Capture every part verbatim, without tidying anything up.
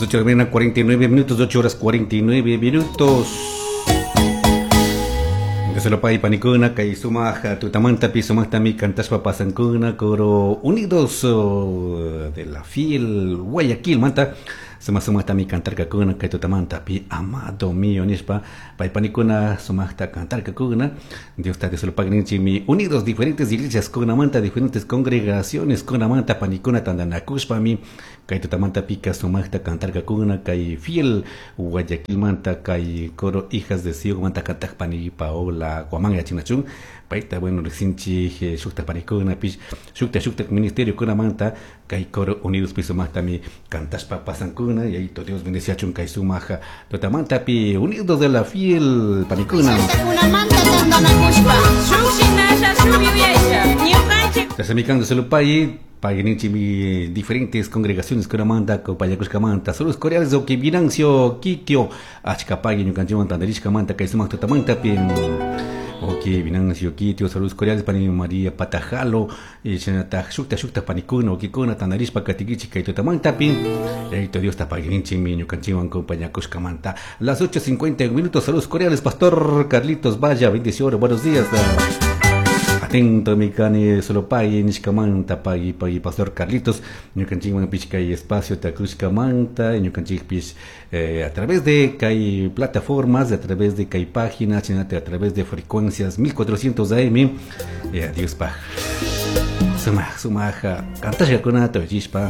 Las ocho de la mañana, cuarenta y nueve minutos, ocho horas cuarenta y nueve minutos. Dios panikuna kay sumaq tutamantapi sumaqtami kantashpa pasankuna coro Unidos oh, de la Fiel Guayaquil manta suma sumaqtami kantarkakuna kay tutamantapi "Amado mío" nishpa pay panikuna sumaqta kantarkakuna. Dios ta Dios mi unidos diferentes iglesias kunamanta, diferentes congregaciones kunamanta panikuna tantanakushpami kay tutamantapika sumaqta kantarkakuna kay Fiel Guayaquil manta kay coro Hijas de Sion manta kantaq pani Paola Guamán yachinachun payta. Bueno, riqsinchik shukta panikunapish shukta shukta ministerio kunamanta kay coro Unidos pi sumaqtami kantashpa pasankuna. Y ahí Dios bendeciachun kay sumaq tutamantapi Unidos de la Fiel panikuna. Kunamanta tantanakushpa. Shuk shinalla shuk yuyaylla ñukanchik. Tasamikando solo pay mi diferentes congregaciones kunamanta payakushkamanta saludos cordiales o que Vinancio Kikio achka pagui ñukanchikwan tantarishkamanta kay sumaq tutamantapi. Ok, Vinancio Kitio, saludos cordiales para María Patajalo, y shinataq shukta shukta panikuna ukikuna tantarishpa katikichik kay tutamantapi. Yaito Dios ta paguinchimi ñukanchikwan compañakushkamanta. Las ocho cincuenta minutos, saludos cordiales, Pastor Carlitos Vaya, bendiciones, buenos días. Atento mi kani solo pagui nishkamanta pagui pagui Pastor Carlitos ñukanchikwan pish kay espacio takushkamanta ñukanchikpish eh, a través de kay plataformas, a través de kay páginas, a través de frecuencias mil cuatrocientos A M eh, Dios paj sumaq sumaq kantashkakunata uyachishpa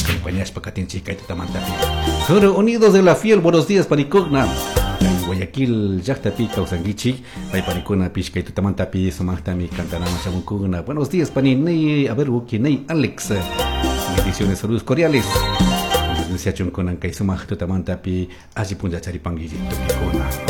acompañashpa katinchik kay tutamantapi. Coro Unidos de la Fiel, buenos días, panikuna. Guayaquil llaqtapi kawsankichik pay panikuna pish kay tutamantapi sumaqtami kantanaman shamunkuna. Buenos días, pani Ney, a ver, Ney Alex, bendiciones, saludos cordiales. Dios bendiga kunan kay sumaq tutamantapi alli punlla charipankichik tukikuna.